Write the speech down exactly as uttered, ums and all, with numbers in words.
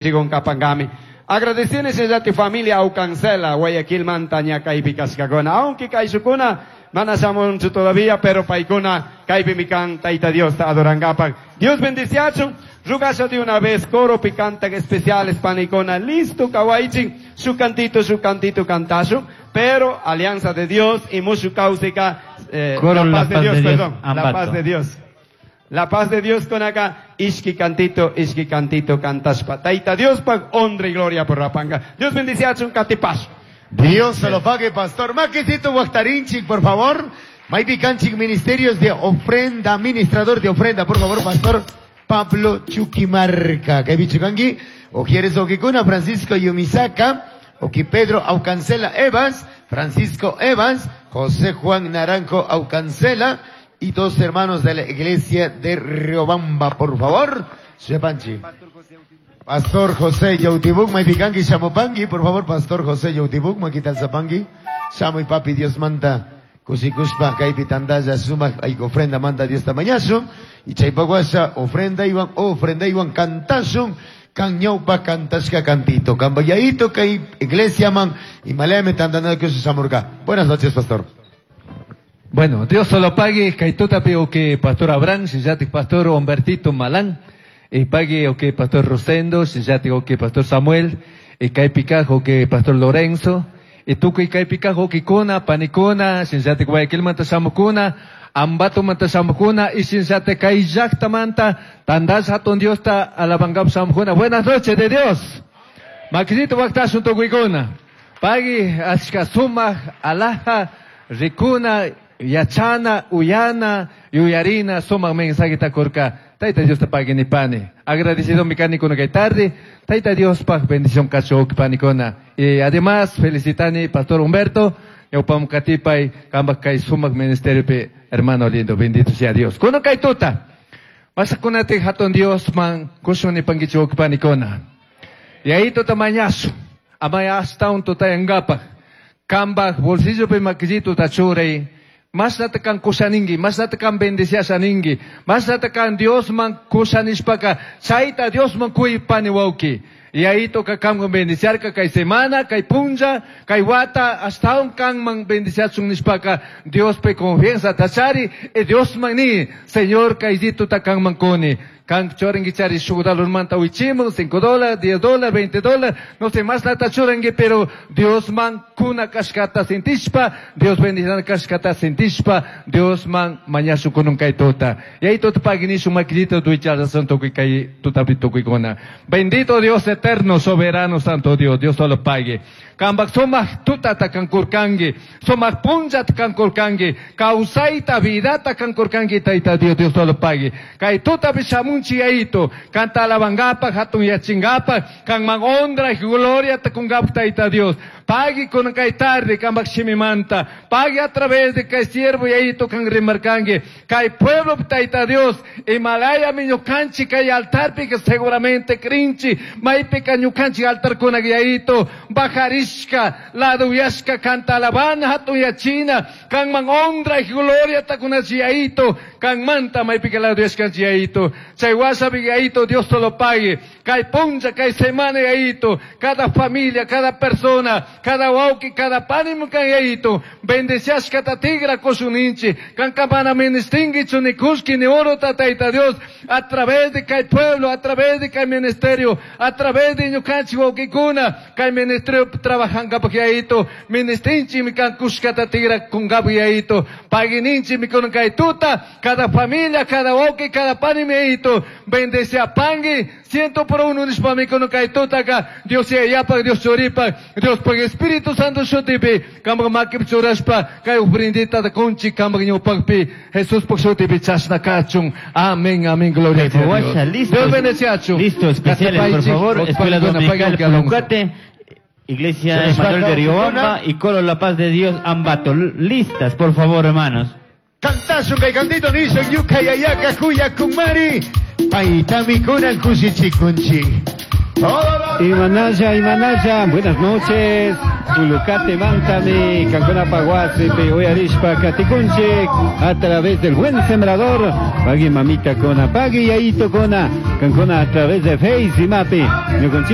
Kapangami. Agradecienes a tu familia Aucancela, Guayaquil Mantaña, kaypi kashkakuna. Aunque kayshukuna, mana shamunchu todavía, pero paykuna, kaypi mikan, Taita Dios ta adorangapak. Dios bendiciachun, rugasha de una vez, coro picante especiales, panikuna, listo, kawaichin, su cantito, su cantito, cantashu, pero alianza de Dios y mushu causica, eh, Coro la paz de Dios, de Dios, perdón, la paz de Dios. La paz de Dios con acá, ishki cantito, ishki cantito, cantashpa. Taita Dios pa honra y gloria por rapanga. Dios bendice a un catipash. Dios se lo pague, pastor. Maquecito Guactarinchik, por favor. Maypi Canchik, ministerios de ofrenda, administrador de ofrenda, por favor, pastor Pablo Chuquimarca. Kaypi kanki? O quieres Oquicuna, Francisco Yumisaka, Oki Pedro Aucancela Evans, Francisco Evans, José Juan Naranjo Aucancela, y dos hermanos de la iglesia de Riobamba, por favor. Sepanchi. Pastor José Yautibuk, Maipikanki, Shamopangi, por favor, Pastor José Yautibuk, Maquitalzapangi, Shamu y Papi, Dios manda, Kusikuspa, Kaipi Tandaya, Suma, hay ofrenda, manda Dios tamañazo, y Chaypaguasa, ofrenda iban, ofrenda iban, cantazo, Cañaupa, cantasca, cantito, Cambayaito, Kai, iglesia man, y Maleame, Tandana, que se samurga. Buenas noches, pastor. Bueno, Dios solo pague, kaituta o que pastor Abraham, si pastor Humbertito Malán, y pague o que pastor Rosendo, si o que pastor Samuel, y kaipicajo que pastor Lorenzo, y tuku y kaipicajo que kuna, panicuna, si Guayaquil manta samukuna, Ambato manta samukuna, y si kai llaqta manta, tandas hatun Dios ta alabangap samukuna. Buenas noches de Dios. Maquisito waktasun tukuikuna. Pague, ashka sumaj, alaja, rikuna, yachana, uyana, yuyarina, sumaq mensaje takurka. Taita Dios te pague ni pani. Agradecido mi canicuna que tarde. Taita Dios pag bendición cacho panicona. Y además, felicitani Pastor Humberto, Yaupam katipay, kamba kay sumaq ministerio pe, hermano lindo, bendito sea Dios. Kuno kay tuta. Masakunate hatun Dios man, kusun ni pangichok panicona. Y ahí tuta mañazo. Amaya hasta un tuta yangapa. Kamba bolsillo pe makijito tachurey. Mas natakan kusaningi, mas natakan bendiciasaningi, mas natakan Dios man kusanishpaka, chaita Dios man kui pani wauki. Y ahí toca kan bendiciar kay semana, kay punja, kay wata, hasta un kan man bendiciasun nishpaka, Dios pe confianza tachari, e Dios man ni, Señor kay zito takan man koni. Kan chorengi chari shu dólar manta wichimun, cinco dólares, diez dólares, veinte dólares, no sé más nata chorengi, pero Dios man kuna kashkata sintishpa, Dios bendice kashkata sintishpa, Dios man mañasu kunun kay tota. Y ahí tot pagini su maquillito tuichala santo kay tutapi tukikona. Bendito Dios eterno, soberano, santo Dios, Dios solo pague. Kambak sumaq tutata kankurkanki, sumaq punllata kankurkanki, kawsayta vidata kankurkanki, Tayta Dios, Dios solo pague. Kay tutapi shamunchi ayito, kanta alabangapaq, hatun yachingapaq, kanman honra y gloria takungapaq Tayta Dios. Pague con kay tarde, kambak shimimanta, pague a través de kay siervo y ayito kan rimarkanki, kay pueblo Tayta Dios, Himalaya mi ñukanchi kay altarpi que seguramente krinchi, maypi ka ñukanchi altar kuna ayito, bajarish laduyashka kanta alabana hatun yachina, kanman honra y gloria takunachi ayito, kanmanta maypi ka laduyashka ayito, chay wasapi ayito, Dios te lo pague, kay puncha, kay semana ayito, cada familia, cada persona, cada wauki, cada panimo kan ayito, bendeciashka ta tigra kosuninchi, kan kapana ministingi ni kuski ni oro tataita Dios, a través de kay pueblo, a través de kay ministerio, a través de ñukanchi waukikuna, kay ministerio trabajanga pakiaito, ministinchi mi kan kuskata tigra kungabiaito, pagininchi mi kun kay tuta, cada familia, cada wauki, cada panimiaito, bendece a pangui, ciento por uno nishpa mi kun kay tuta ka, Dios sea yapa, Dios choripa, Dios pag Espíritu Santo shutipi, kambag makip churashpa, kay ofrendita da kunchi kambag ñawpakpi, Jesús pag shutipi chashna kachun, amén, amén, gloria a Dios. Listo. Dios bendeciachu. Listo, especiales, por favor. Escuela Dominical Pulucate, Iglesia Emanuel de Riobamba y Coro La Paz de Dios Ambato. Listas, por favor, hermanos. Cantazo kay cantito niso yuka yayaka kuya kumari, paitami kunan kusichikunchi. Imanaya, Imanaya, buenas noches. Pulucate mantami, kankunapaj wasipi uyarishpa katikunchik a través del Buen Sembrador, pagui mamita kona, pagui yayito kona, kankuna a través de Face y Mapi, ñukanchik